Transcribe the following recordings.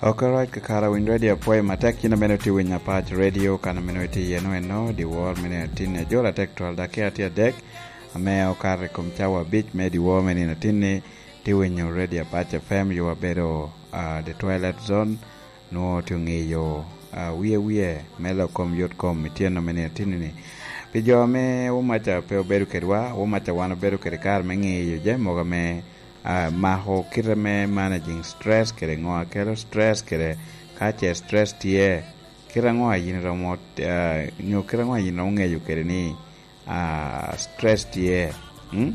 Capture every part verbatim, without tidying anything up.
Ok, alright, kakare, winyo redio apwoyo matek. Yin amene otye winyo Apac Radio, kan amene itye iye no eno, dyewor me nino atin, ajolo atek twal, dakika tye adek ame okato i kom cawa abic me dyewor me nino atin-ni. Tye winyo redio Apac F M, yo abedo, ah, The Twilight Zone, nwo tye ŋeyo, ah, wiye wiye me lok kom yot kom ityen no me nino atin-ni. Pi jo ame Womaca pe obedo kedwa, Womaca wan obedo kede kare me ŋeyo jami mogo ame, ah, mako kite me managing stress kede ŋo a kelo stress kede ka ce stress tye, kite ŋo a yin iromo, ah, nyo kite ŋo a yin iromo ŋeyo kede ni, ah, stress tye, mm?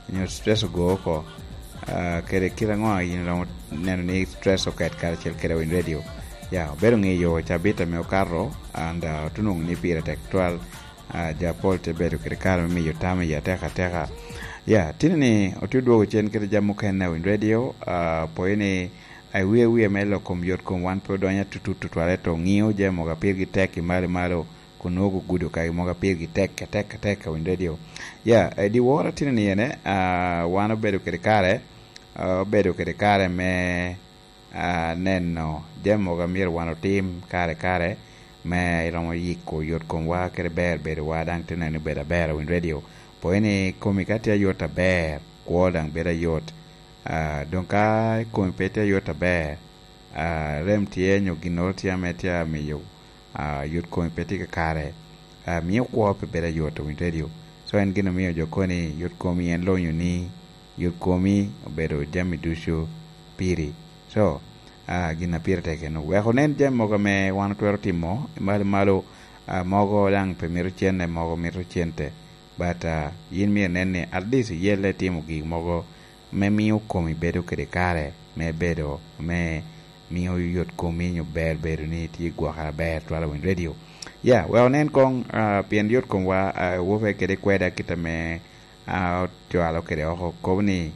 Nyo stress ogo oko, ah, kede kite ŋo a yin iromo neno ni stress oket karacel kede Winy Radio. Ya, obedo ŋeyo cabit ame okato, and, ah, otunwoŋo ni pire tek twal. Ah, jo apol te bedo kede kare me miyo tam i atek ateka. Ya, tini ni otye odwogo cen kede jami mukene a Winy Radio, ah, pwoyo ni, ah, i wie wie me lok kom yot kom wan pe odonyo atutut tutwal, ento ŋio jami mogo a pirgi tek i malo i malo, kun nwoŋo gudo kagi mogo a pirgi tek, tek, tek a Winy Radio. Ya, eh, dyewor a tini ni ene, ah, wan obedo kede kare, ah, obedo kede kare me, ah, neno jami mogo a myero wan otim kare kare, me iromo yiko yot komwa kede ber bedowa, daŋ te neno ni bedo aber a Winy Radio. Pwoyo ni komi ka tye ayot aber, kwo daŋ bedo ayot. Ah, doŋ ka komi pe tye ayot aber, ah, rem tye nyo ginnoro tye ame tye amiyo, ah, yot komi pe tye kakare, ah, mio kwo pe bedo ayot a Winy Radio. So en gin omio jo koni yot komi en lonyo ni yot komi obedo jami ducu piri. So, ah, gin a pire tek eno. Wek onen jami mogo ame wan otwero timo i malo i malo, ah, mogo daŋ pe mito cente, mogo mito cente. But, ah, yin myero inen ni at least iyelle itimo gik mogo me mio komi bedo kede kare, me bedo, me mio yot komi nyo ber bedo ni itye i gwokere aber twal a Winy Radio. Ya, wek onen koŋ, ah, pien yot komwa, ah, wope kede kweda kit ame, ah, ocwalo kede oko, kobo ni,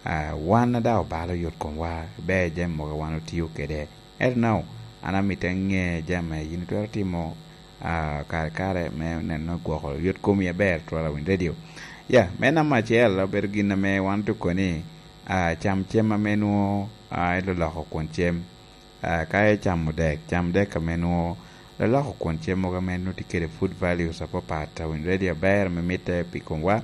ah, wan a daŋ obalo yot komwa, ber jami mogo a wan otio kede. Ento now, an amito aŋe jami a yin itwero timo, ah, kare kare me neno gwoko yot komi aber twal a Winy Radio. Ya, me namba acel, obedo gin ame wan otuko ni, ah, cam cem ame nwoŋo, ah, iloloko kwon cem. Ah, ka icamo dek, cam dek ame nwoŋo loloko kwon cem mogo ame nwoŋo tye kede food values apapat, a Winy Radio aber ame mitte pi komwa.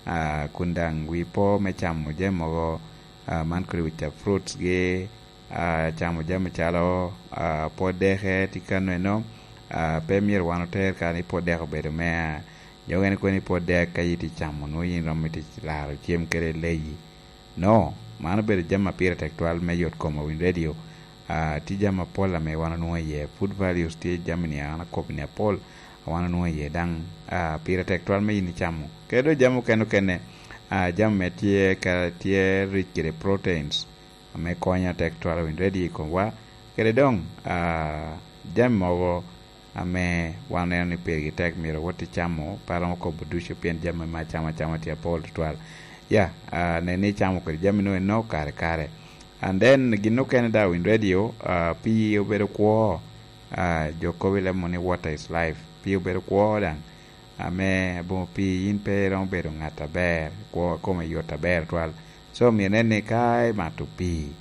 Ah, kun daŋ wi po me camo jami mogo, ah, man kodi wica fruits gi, ah, camo jami calo, ah, pot deke tye kano eno, ah, pe myero wan oter ka ni pot dek obedo mea. Jo ogene kono ni pot dek ka itye camo, nwoŋo yin romo itye laro cem kede leyi. No, man obedo jami a pire tek twal me yot kom a Winy Radio. Ah, tye jami apol ame wan onwoŋo iye. Food values tye jami ni an akobo ni apol a wan onwoŋo iye. Daŋ, ah, pire tek twal me yin icamo. Kede doŋ jami okene okene, ah, jami me tye ka, tye rich kede proteins ame konyo atek twal a Winy Radio i komwa. Kede doŋ, ah, jami mogo ame wan oneno ni pirgi tek myero wot i camo, pe aromo kobo ducu pien jami me acama acama tye apol tutwal. Ya, ah, nen ni icamo kede jami nwoŋo eno kare kare. And then gin okene daŋ Winy Radio, ah, pii obedo kwo, ah, jo kobo i leb moni ni water is life. Pii obedo kwo daŋ. Ame aboŋo pii yin pe iromo bedo ŋat aber, kwo kome yot aber twal. So myero inen ni ka imato pii,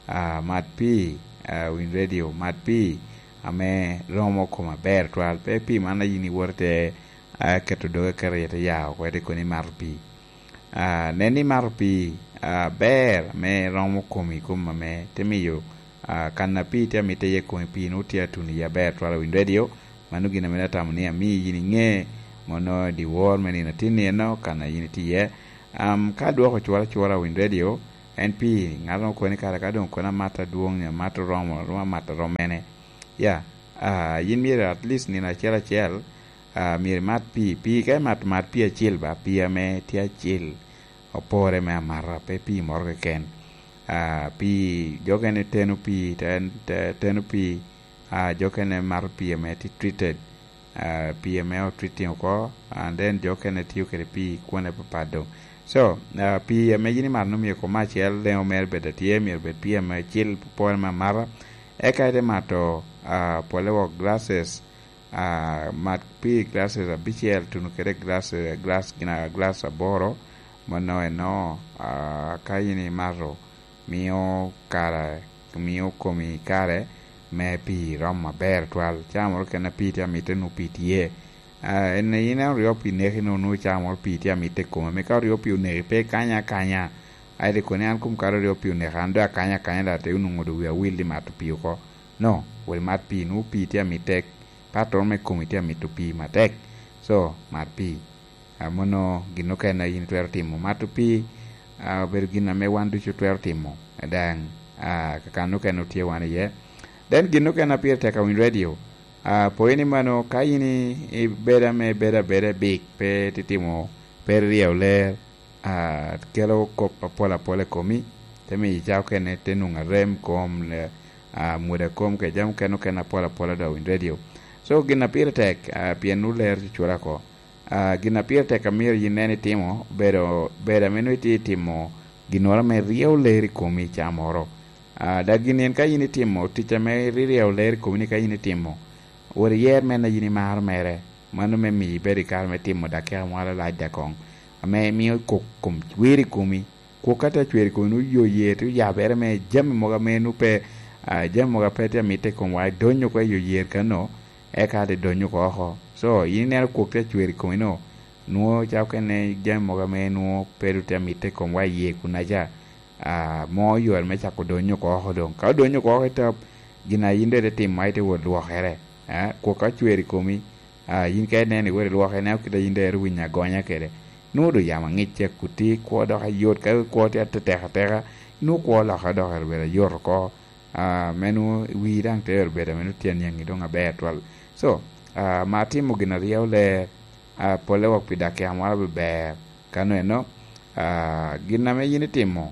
ah, mat pii, ah, Winy Radio, mat pii ame romo kom aber twal. Pe pii man a yin iwoto te, ah, keto doge keto iye te ya oko, ite koni imato pii. Ah, nen ni imato pii, ah, aber ame romo komi kom ame te miyo, ah, kan a pii tye amitte iye komi pii nwoŋo tye atuno iye aber twal a Winy Radio. Mano gin ame atamo ni ami yin iŋe, mono dyewor me nino atin ni eno kan a yin itye iye. Am, ka dwoko cwora cwora a Winy Radio, en pii, ŋat moro kono ni kara ka doŋ kono amato adwoŋ nyo amato oromo, romo amato arom mene. Ya, ah, yin myero at least nino acel acel, ah, myero imat pii. Pii ka imato, mat pii acel ba, pii ame tye acel, opore me amata, pe pii moro keken. Ah, pii, jo okene teno pii, te-, te-, teno pii, ah, jo okene mato pii ame tye treated, ah, pii ame o treating oko, and then jo okene tiyo kede pii kwone papat doŋ. So, ah, pii ame yin imato nwoŋo myero kom acel, leŋo mere bed atye, myero bed pii ame acel, pore me amata. Eka ite mato, ah, pole wok glasses, ah, mat pii glasses abicel, tuno kede glass, glass, gin a glass aboro, mano eno, ah, ka yin imato, mio kara mio komi kare me pii rom aber twal. Caa moro kene pii tye amitte, nwoŋo pii tye. Ah, en, in en oryo pii neki, nwoŋo, nwoŋo caa moro pii tye amitte i kome. Ame ka oryo pii oneki, pe ikanya akanya. Ai, de koni an kom kare oryo pii oneka, an doŋ akanya akanya, da te onwoŋo doŋ wi awil i mato pii oko. No, wot imat pii, nwoŋo pii tye amitte, pattoro me komi tye amito pii matek. So, mat pii. Ah, mano gin okene a in itwero timo. Mato pii, ah, obedo gin ame wan ducu twero timo. Daŋ, ah, kakan okene otye wan iye. Then gin okene a pire tek a winy radio. Ah, po ni mano, ka in i, ibedo ame ibedo abeda i bik, pe titimo, pe iryeyo ler, ah, kelo kop apol apol i komi, te miyo icako kene te nwoŋo arem kom, le-, ah, mwodo kom, kede jami okene okene apol apol a dok winy radio. So, gin a pire tek, ah, pien nwoŋo ler cucula oko. Ah, gin a pire tek a myero yin nen itimo, bedo, bedo ame nwoŋo itye itimo ginnoro ame ryeyo ler i komi i caa moro. Ah, dok gin en ka yin itimo tic ame ryeyo ler i komi ni ka yin itimo, wot iyer men a yin imaro mere, mano me miyo ibed i kare me timo dakika moro alac dakoŋ, ame mio kok kom cwer i komi. Kok ka tye acwer i komi, nwoŋo yo yer tye oyabere me jami mogo ame nwoŋo pe, ah, jami mogo a pe tye amitte i komwa, idonyo oko i yo yer kano, eka te donyo oko oko. So, in ineno kok tye acwer i komi no, nwoŋo cako kene jami mogo ame nwoŋo pe ru tye amitte i komwa i yer kunaca, ah, mo yore me cako donyo oko oko doŋ. Ka odonyo oko oko i top, gin a yin doŋ ite timo, a ite wot lwokere, ah, kok ka cwer i komi, ah, yin ka ineno iwot ilwoke, ineno kit a yin doŋ ero winyo agonya kede, nwoŋo doŋ yamo aŋic cek kutti, kwo dok ayot, ka kwo tye atetek ateka, nwoŋo kwo olokke dok obedo ayot oko, ah, me nwoŋo wii daŋ te ero bedo ame nwoŋo tye aniaŋi doŋ aber twal. So, ah, ma timo gin a ryeyo ler, ah, polle wok pi dakika moro abe ber. Kano eno, ah, gin ame yin itimo,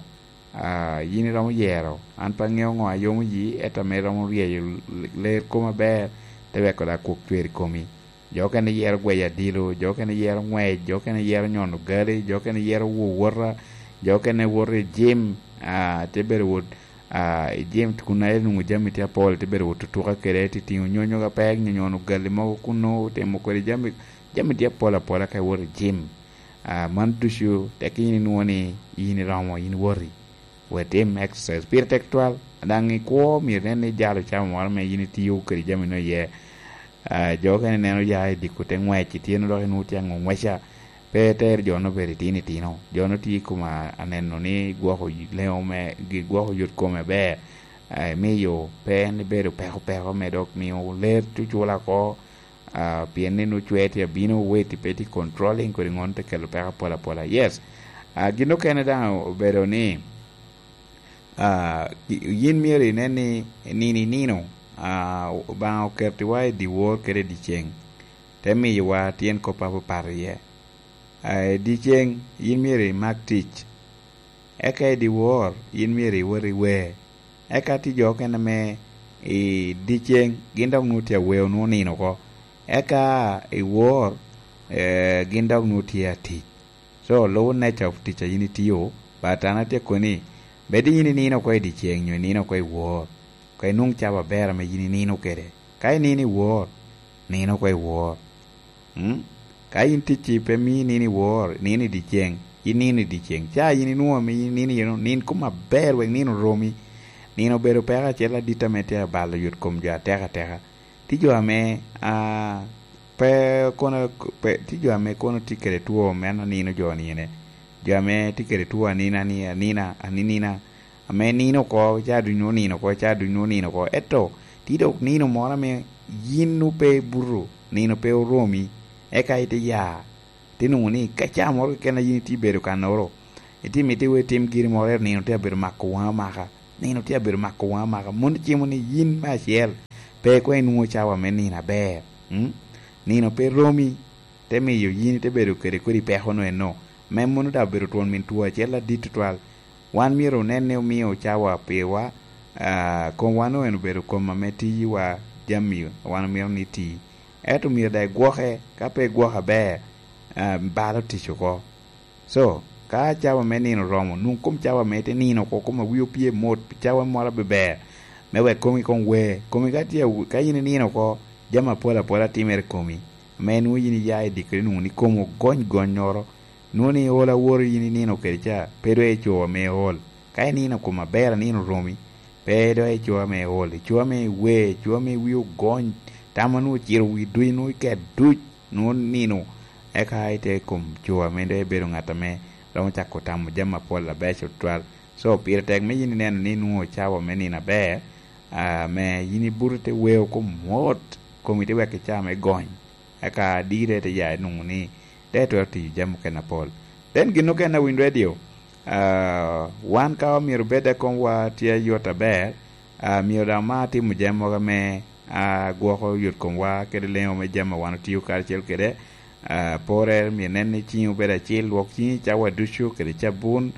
ah, yin iromo yero. An pe aŋeo ŋo a yomo yi, ento ame iromo ryeyo l-, ler kom aber, te weko dak kok cwer i komi. Jo okene yero gweyo adilo, jo okene yero ŋwec, jo okene yero nyono gali, jo okene yero wowota, jo okene woto i jim, ah, te bedo wot, ah, i jim kun aye nwoŋo jami tye apol, te bedo wot tutuka kede, te tiŋo nyonyo ka pek, nyo nyono gali mogo kuno, timo kodi jami, jami tye apol apola ka iwoto i jim. Ah, man ducu tek in inwoŋo ni in iromo, in woti. Wot itim exercise pire tek twal. Daŋ i kwo myero inen ni ijalo camo moro ame yin itiyo kede jami-nu iye. Ah, jo okene ineno ya i diko te ŋwec, itye-nu dok inwoŋo tye aŋo ŋweca. Pe iter jo-nu obedo itino itino. Jo-nu tye i kom a-, aneno ni gwoko y-, leŋo me, gi-, gwoko yot kome aber. Ah, imiyo pe en ibedo peko peko me dok miyo ler cucula oko. Ah, pien ni nwoŋo cwer tye abino, weti pe tye controlling kodi ŋon te kelo peko apol apola. Yes. Ah, gin okene daŋ obedo ni, ah, ki-, yin myero inen ni nino i nino, ah, Obaŋa okettiwa i dyewor kede i dyeceŋ, te miyowa tyen kop apapat iye. Ah, i dyeceŋ, yin myero imak tic, eka i dyewor, yin myero iwot i wer. Eka tye jo okene ame i dyeceŋ, gin dok nwoŋo tye aweo, nwoŋo nino oko. Eka i wor, eh, gin dok nwoŋo tye atic. So, lubo nature of tic a yin itiyo, but an atye koni, bed yin inino oko i dyeceŋ nyo inino oko i wor, ka inwoŋ cawa aber ame yin inino kede. Ka inino i wor, nino oko i wor. Mm? Ka in ticci pe mii nino i wor, nino i dyeceŋ, in nino i dyeceŋ. Ca yin inwoŋo ame in nino iye, nin kom aber wek nino oromi. Nino obedo peko acel adit ame tye abalo yot kom jo atek ateka. Tye jo ame, ah, pe kono, pe, tye jo ame kono tye kede two meno nino jo nine. Jo ame tye kede two anina, ni, anina, aninina, ame nino oko, ca duny onino oko, ca duny onino oko. Ento, tye dok nino moro ame yin nwoŋo pe ibuto, nino pe oromi, eka ite ya, ite nwoŋo ni ka ca moro keken a yin itye bedo kannoro, itye mito iwe itim giri moro, ento nino tye abedo mako waŋi amaka, nino tye abedo mako waŋi amaka. Mano cimo ni yin me acel, pe koŋ inwoŋo cawa me nino aber. Mm? Nino pe romi, te miyo yin ite bedo kede kodi peko-nu eno, me mano daŋ obedo twon min two acel adit tutwal. Wan myero onen ni omio cawa pirwa, ah, komwa-nu en obedo kom ame tiyiwa jami wan omito ni ti. Ento myero daŋ igwoke, ka pe igwoke aber, ah, balo tic oko. So, ka cawa me nino oromo, nwoŋ kom cawa me te nino oko, kom a wi opye mot, cawa moro abe ber, me wek komi koŋ wer. Komi ka tye aw-, ka in inino oko, jami apol apola timere i komi, ame nwoŋo in iya i dikere nwoŋo ni komi ogony gonnyoro, nwoŋo ni ol a woro in inino kede ca, pe doŋ ico ame ol. Ka inino kom aber, anino oromi, Pe dok i coo ame iol, i coo ame iwer, i coo ame wi ogony, tam a nwoŋo ociro wi duc, nwoŋo iket duc, nwoŋo nino. Eka ite i kom coo ame dok ibedo ŋat ame romo cako tamo jami apol abeco tutwal. So, pire tek me yin ineno ni nwoŋo cawa me nino aber, ah, me yin ibuto ite weo kom mot, komi te weko i caa me gony. Eka dire te ya nwoŋo ni te twero tiyo jami okene apol. Then gin okene a Wind Radio, ah, wan ka omyero bed a komwa tye ayot aber, ah, myero daŋ omar timo jami mogo ame, ah, gwoko yot komwa kede leŋo me jami a wan otio karacel kede, ah, porre myero nen ni ciŋi obedo acil, lwok ciŋi cawa ducu kede cabun,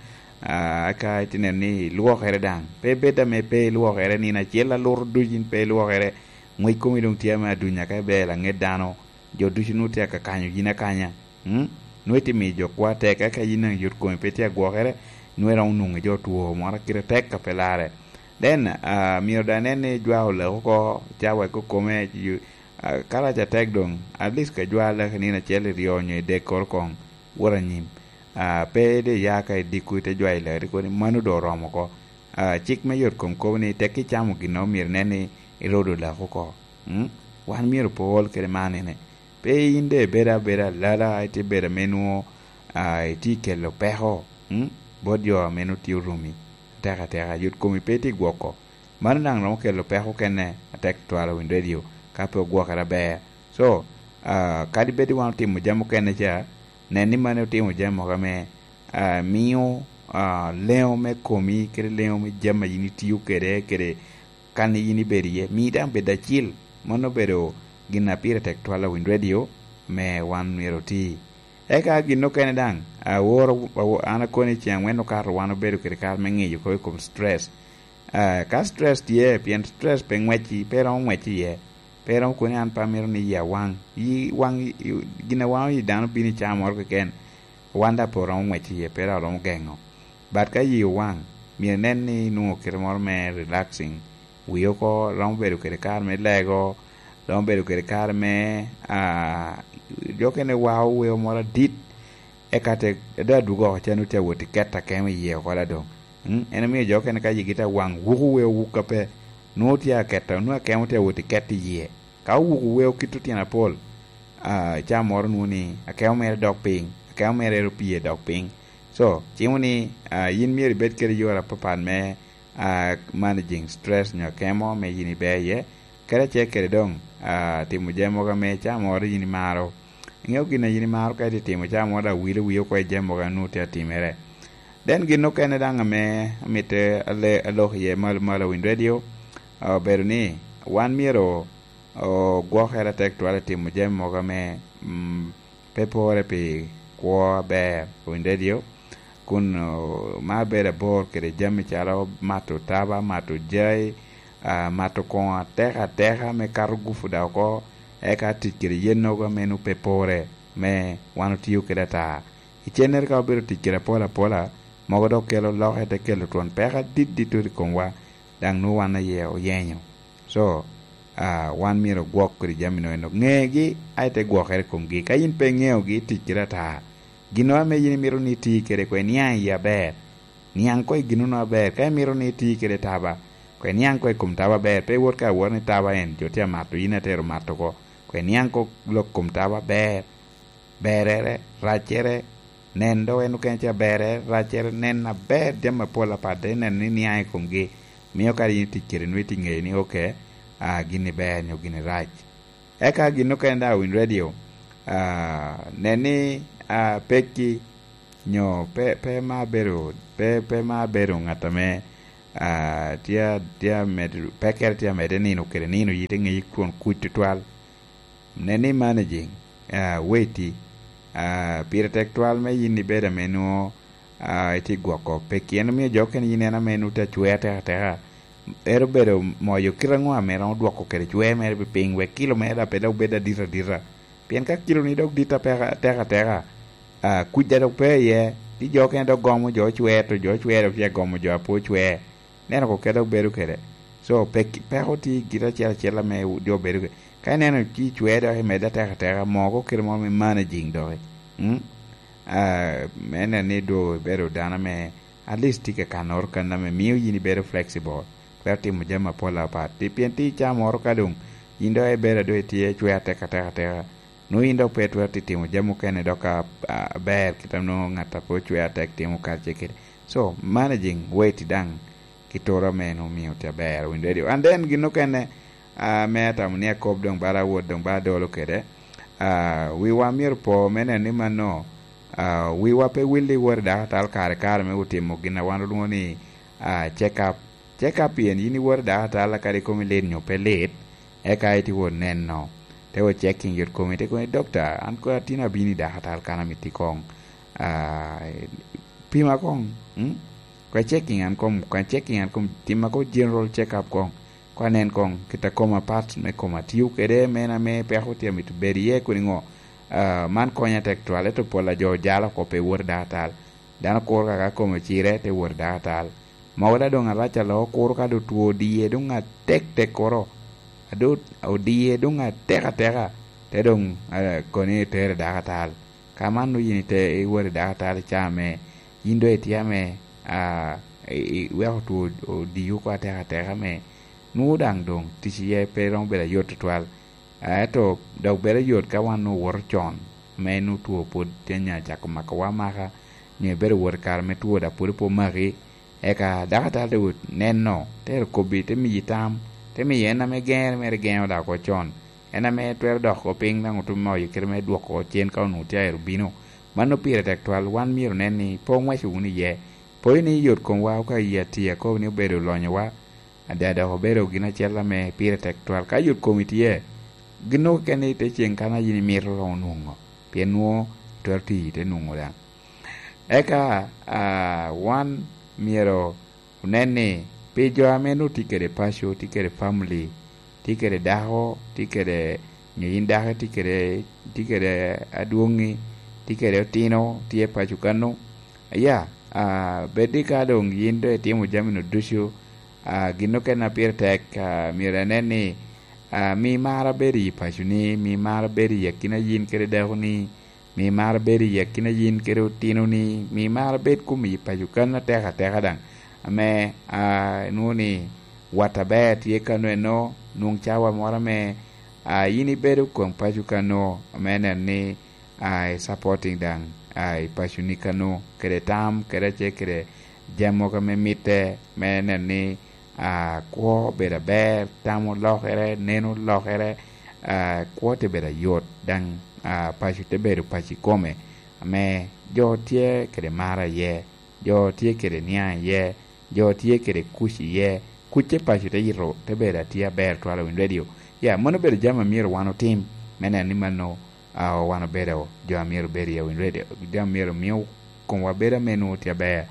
ah, eka ite neno ni ilwokere daŋ. Pe bed ame pe ilwokere, nino acel aluto ducu yin pe ilwokere, ngwec komi doŋ tye ame adunya ka ibedo laŋet dano, jo ducu nwoŋo tye ka kanyo yin akanya. Mm? Nwoŋo itye miyo jo kwo atek, eka yin daŋ yot komi pe tye agwokere, nwoŋo iromo nwoŋo jo two moro kite tek a pe larre. Then, ah, myero daŋ inen ni jwako lak oko, ca wek okome, you, ah, ka rac atek doŋ, at least ka jwa lak i nino acel i ryo onyo i dek koro koŋ wot anyim. Ah, pe de ya ka idiko ite jwayo lak, ite kobo ni mano doŋ oromo oko. Ah, cik me yot kom kobo ni tek icamo gin, myero inen ni irodo lak oko. Mm? Wan myero pe ol kede man ene. Pe yin de ibedo abeda alala, ite bedo ame nwoŋo, ah, itye kelo peko, mm, bot jo ame nwoŋo tye orumi. Atek ateka, yot komi pe itye gwoko. Mano daŋ romo kelo peko okene atek twal i Wind Radio, ka pe ogwokere aber. So, ah, kadi bed wan otimo jami okene ca, nen ni mano otimo jami mogo ame, ah, mio, ah, leŋo me komi, kede leŋo me jami a yin itio kede, kede kan yin ibedo iye, mi daŋ bed acil. Mano obedo gin a pire tek twal a Wind Radio, me wan myero oti. Eka gin okene daŋ, aworo, awo-, an akoni ceŋ angwen okato wan obedo kede kare me ŋiyo kop i kom stress. Ah, ka stress tye, pien stress pe ŋwecci, pe romo ŋwecci iye. Pe romo koni an pe amito ni yi awaŋ. Yi waŋ, yi, gin a waŋo yi dano bino i caa moro keken. Wan daŋ pe romo ŋwecci iye, pe daŋ romo geŋo. But ka yi owaŋ, myero inen ni inwoŋo kite moro me relaxing. Wi oko romo bedo kede kare me lego, romo bedo kede kare me, ah, jo okene wao weo moro adit, eka te, dok adwogo oko ca nwoŋo tye awot i ket akemo iye oko da doŋ. Mm, en omio jo okene ka yigi tye awaŋ, wuko weo wuk ape, nwoŋo tye aketo, nwoŋo akemo tye awot i ket iye. Ka owuko weo kit otino apol, ah, ca moro nwoŋo ni akemo mere dok piny, akemo mere ero pye dok piny. So, cimo ni, ah, yin myero ibed kede yore apapat me, ah, managing stress nyo akemo me yin iber iye. Kadi acel kede doŋ, ah, timo jami mogo ame ca moro yin imaro. Iŋeo gin a yin imaro ka itye timo, ca moro daŋ wilo wii oko i jami mogo a nwoŋo tye atimere. Then gin okene daŋ ame amito ale-, alok iye malo malo i Wind Radio, ah, obedo ni wan myero ogwokere atek twal i timo jami mogo ame, mm, pe pore pi kwo aber i Wind Radio, kun, oh, ma bedo abor kede jami calo mato taba, mato jai, ah, mato koŋo atek ateka me kato gupu da oko, eka tic kede yen nogo ame nwoŋo pe pore me wan otio kede ata. Icennere ka obedo tic kede apol apola, mogo dok kelo loke, te kelo twon peko adit dit i komwa, daŋ nwoŋo wan aye oyenyo. So, ah, wan myero ogwok kede jami nono. Ŋegi, a ite gwokere i komgi. Ka yin pe iŋeogi, tic kede ata. Gin ame yin imito ni iti kede, koŋ iniaŋ iye aber. Niaŋ koŋ i gin nono aber. Ka imito ni iti kede taba, koŋ iniaŋ koŋ i kom taba aber. Pe iwot ka awot ni taba en jo tye amato, yin atero mato oko. Koŋ iniaŋ koŋ lok kom taba aber. Berere, raccere, nen dok en okene ca berre, raccere, nen aber jami apol apat, dok inen ni niaŋ i komgi. Mio kadi yin itic kede nwoŋo itye ŋeyo ni, oke, ah, gin-ni ber nyo gin-ni rac. Eka gin okene daŋ i Wind Radio, ah, nen ni, ah, pekki nyo pe, pe ma bedo, pe, pe ma bedo ŋat ame, ah, tye, tye amed-, pekkere tye amedde nino kede nino, yite ŋeyi kwon kuc tutwal. Nen ni managing, ah, weti, ah, pire tek twal me yin ibedo ame nwoŋo, ah, itye gwoko pekki. En omio jo okene yin en ame nwoŋo tye acwer atek ateka. Ero bedo moyo kite aŋo ame romo dwoko kede cwer mere pi piny, wek kilo mere daŋ pe dok bed adit adita? Pien ka kiloni dok dit apeka, atek ateka, ah, kuc daŋ dok pe iye, ti jo okene dok gomo jo ocwer, to jo ocwer dok tye agomo jo a pe ocwer. Neno ko kede obedo kede. So, pek-, peko tye i gin acel acel ame jo bedo kede. Ka ineno ci cwer dok imedde atek ateka, moko kite moro me managing doki. Mm? Ah, me neno ni dong ibedo dano ame at least tye ka kanoro kan ame mio yin ibedo flexible. twero timo jami apol apat. Ti-, pien ti icaa moro ka doŋ yin dok ibedo a doŋ itye cwer atek atek ateka, nwoŋo yin dok pe itwero ti timo jami okene dok a-, a-, aber kit a nwoŋo ŋat a pe ocwer atek timo karacel kede. So, managing weight daŋ ki toro ame en omio tye aber, owinyo ready. And then gin okene, ah, ame atamo ni akob doŋ bala awot doŋ bala adolo kede, ah, wiwa myero po me neno ni mano, ah, wiwa pe willi wot i dakatal kare kare me otimo gin a wan olwongo ni, ah, check up. Check up pien yin iwot i dakatal kadi komi lit nyo pe lit, eka iti wot neno. Te wot checking yot komi, te komi, "Dokta, an kono atin abino i dakatal kan amiti koŋ." Ah, pima koŋ, mm? Kwa checking an kom, kwa checking an kom, tima ko general check up koŋ. Kwa nen koŋ, kit a koma, parts me koma tio kede, me en ame peko tye amito bedo iye kodi ŋo. Ah, man konya tek twal, ento pol a jo jalo oko pe wot i dakatal. Dano kuro kaka kome ocire, te wot i dakatal. Mogo da doŋ arac alo, kuro ka doŋ two odie, doŋ atek tek kuro. Ado odie, doŋ atek ateka, te doŋ, ah, koni tere i dakatal. Ka man nwoŋo yin ite iwot i dakatal i caa ame yin doŋ itye ame, ah, i-, i-, iweko two odiyi oko atek ateka ame nwoŋo daŋ doŋ tic iye pe romo bedo ayot tutwal. Ento dok bedo ayot ka wan nwoŋo owoto con, ame nwoŋo two pwod tye nya cako makowa amaka, nyo ibedo wot i kare me two dok pwod pe omaki, eka dakatal te wot neno, te ero kobbi, te miyi tam, te miyi en ame geŋere mere geŋo dok oko con. En ame twero dok oko piny daŋ otumo oyo kite me dwoko oko cen ka onwoŋo tye aero bino. Mano pire tek twal, wan myero onen ni pe oŋweco wunu iye. Poyo ni yot komwa ka i ati akobo ni obedo lonyowa, ada dok obedo gin acel ame pire tek twal. Ka yot komi tye, gin okene ite ceŋ kan a yin imito onwoŋo, pien nwoŋo itwero tiyo ite nwoŋo daŋ. Eka, ah, wan myero onen ni pi jo ame nwoŋo tye kede paco, tye kede family, tye kede dako, tye kede nyo yin dako tye kede, tye kede adwoŋi, tye kede otino, tye paco kano. Aya, ah, bed ni ka doŋ yin doŋ itimo jami-nu ducu, ah, gin okene a pire tek, ah, myero inen ni, ah, mi mar abedo i paconi, mi mar abedo i akina yin kede dakoni, mi mar bedo i akina yin kede otinoni, mi mar bed kun i paco kan atek ateka daŋ, ame, ah, inwoŋo ni wat aber tye kano eno, nwoŋ cawa moro ame, ah, yin ibedo koŋ paco kano, ame nen ni, ah, i supporting daŋ, ah, i paconi kano, kede tam, kede ace kede jami mogo ame mitte, me nen ni, ah, kwo obedo aber, tam olokere, neno olokere, ah, kwo te bedo ayot, daŋ, ah, paco te bedo paco ikome, ame jo tye kede mar aye, jo tye kede niaŋ iye, jo tye kede kuc iye, kuc te paco te yito, te bedo atye aber twal i winy radio. Ya, mano obedo jami a myero wan otim, me neno ni mano, ah, wan obedo jo a myero obed iye i winy radio, jo a myero mio komwa bedo ame nwoŋo tye aber.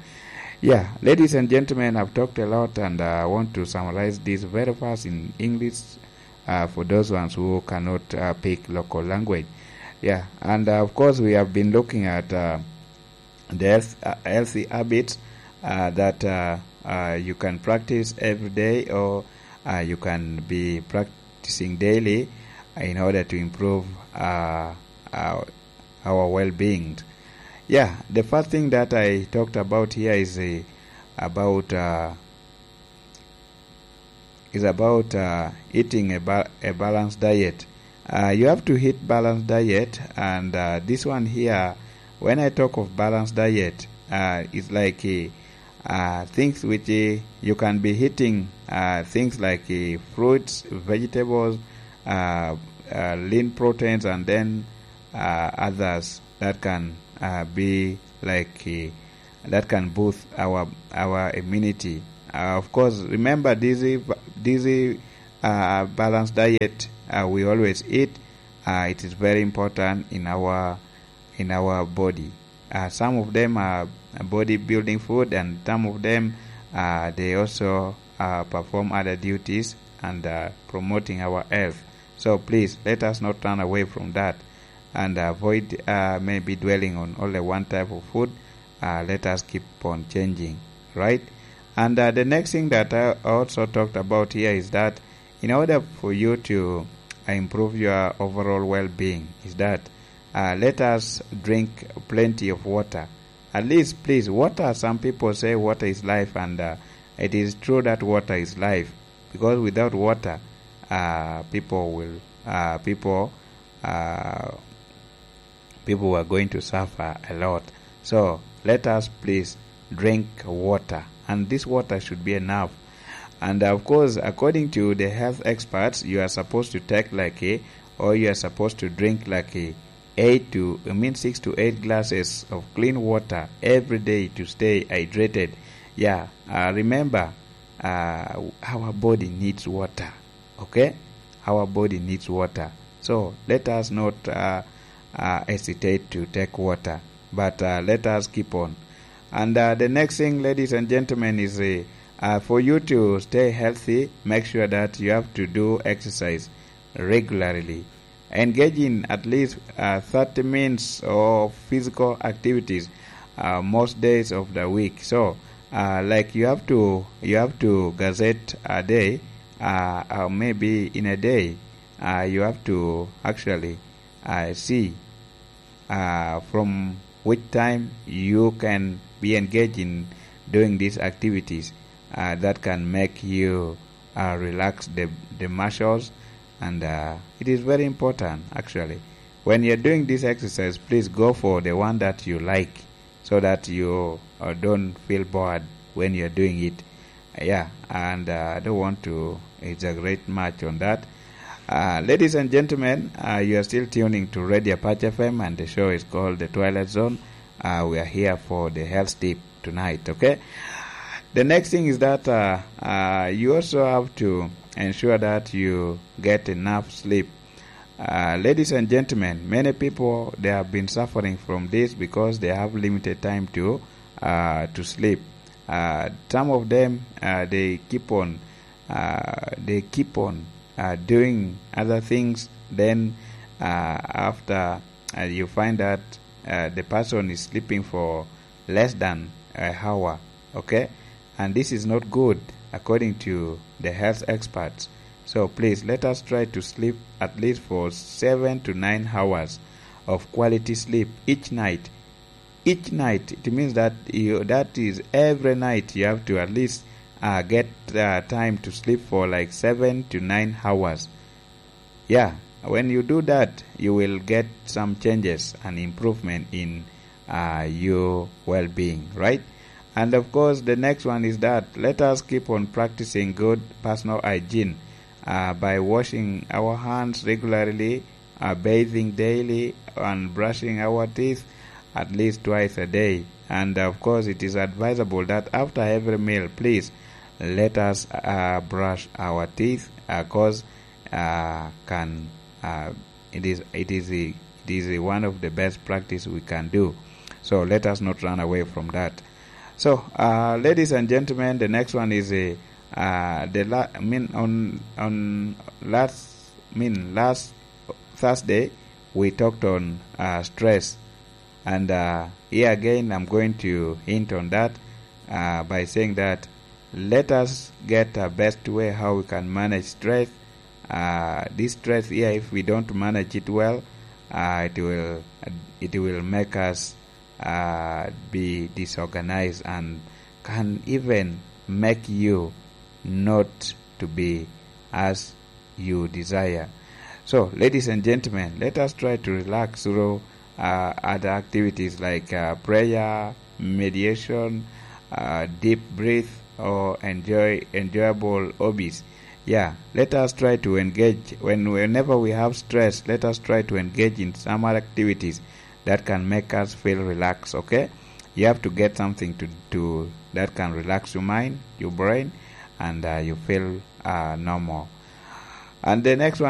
Yeah, ladies and gentlemen, I've talked a lot, and, uh, I want to summarize this very fast in English, uh, for those ones who cannot, uh, pick local language. Yeah, and, uh, of course, we have been looking at, uh, the health, uh, healthy habits, uh, that, uh, uh, you can practice every day, or, uh, you can be practicing daily in order to improve, uh, uh, our well-being. Yeah, the first thing that I talked about here is, uh, about, uh, is about, uh, eating a, ba- a balanced diet. Uh, you have to eat balanced diet, and, uh, this one here, when I talk of balanced diet, uh, it's like, uh, uh, things which, uh, you can be eating, uh, things like, uh, fruits, vegetables, uh, uh, lean proteins, and then, uh, others that can, uh, be like, uh, that can boost our, our immunity. Uh, of course, remember this, this, uh, balanced diet, uh, we always eat. Uh, it is very important in our, in our body. Uh, some of them are body building food, and some of them, uh, they also, uh, perform other duties and, uh, promoting our health. So please, let us not turn away from that and avoid, uh, maybe dwelling on only one type of food. Uh, let us keep on changing, right? And, uh, the next thing that I also talked about here is that in order for you to, uh, improve your overall well-being, is that, uh, let us drink plenty of water. At least, please, water, some people say water is life, and, uh, It is true that water is life, because without water, uh, people will, uh, people, uh, people are going to suffer a lot. So let us please drink water, and this water should be enough. And of course, according to the health experts, you are supposed to take like a, or you are supposed to drink like a eight to, I mean, six to eight glasses of clean water every day to stay hydrated. Yeah, uh, remember, uh, our body needs water. Okay, our body needs water. So let us not, uh, uh, hesitate to take water, but, uh, let us keep on. And, uh, the next thing, ladies and gentlemen, is, uh, uh, for you to stay healthy, make sure that you have to do exercise regularly. Engage in at least, uh, thirty minutes of physical activities, uh, most days of the week. So, uh, like, you have to, you have to gazette a day, uh, uh, maybe in a day, uh, you have to actually, uh, see, uh, from which time you can be engaged in doing these activities, uh, that can make you, uh, relax the, the muscles, and, uh, it is very important, actually. When you're doing this exercise, please go for the one that you like, so that you, uh, don't feel bored when you're doing it. Yeah, and, uh, I don't want to exaggerate much on that. Uh, ladies and gentlemen, uh, you are still tuning to Radio Apache F M, and the show is called The Twilight Zone. Uh, we are here for the health tip tonight, okay? The next thing is that, uh, uh, you also have to ensure that you get enough sleep. Uh, ladies and gentlemen, many people, they have been suffering from this because they have limited time to, uh, to sleep. Uh, some of them, uh, they keep on, uh, they keep on, uh, doing other things. Then, uh, after, uh, you find that, uh, the person is sleeping for less than a hour, okay? And this is not good, according to the health experts. So please, let us try to sleep at least for seven to nine hours of quality sleep each night. Each night, it means that you, that is every night you have to at least, uh, get, uh, time to sleep for, like, seven to nine hours. Yeah, when you do that, you will get some changes and improvement in, uh, your well-being, right? And of course, the next one is that let us keep on practicing good personal hygiene, uh, by washing our hands regularly, uh, bathing daily, and brushing our teeth at least twice a day. And of course, it is advisable that after every meal, please let us, uh, brush our teeth, uh, 'cause, uh, can, uh, it is, it is a, it is a one of the best practice we can do. So let us not run away from that. So, uh, ladies and gentlemen, the next one is a, uh, the la-, I mean, on, on last, I mean, last Thursday, we talked on, uh, stress. And, uh, here again, I'm going to hint on that, uh, by saying that let us get a best way how we can manage stress. Uh, this stress here, if we don't manage it well, uh, it will, it will make us, uh, be disorganized and can even make you not to be as you desire. So, ladies and gentlemen, let us try to relax through, uh, other activities like, uh, prayer, meditation, uh, deep breath, or enjoy enjoyable hobbies. Yeah, let us try to engage when, whenever we have stress. Let us try to engage in some other activities that can make us feel relaxed. Okay, you have to get something to to that can relax your mind, your brain, and, uh, you feel, uh, normal. And the next one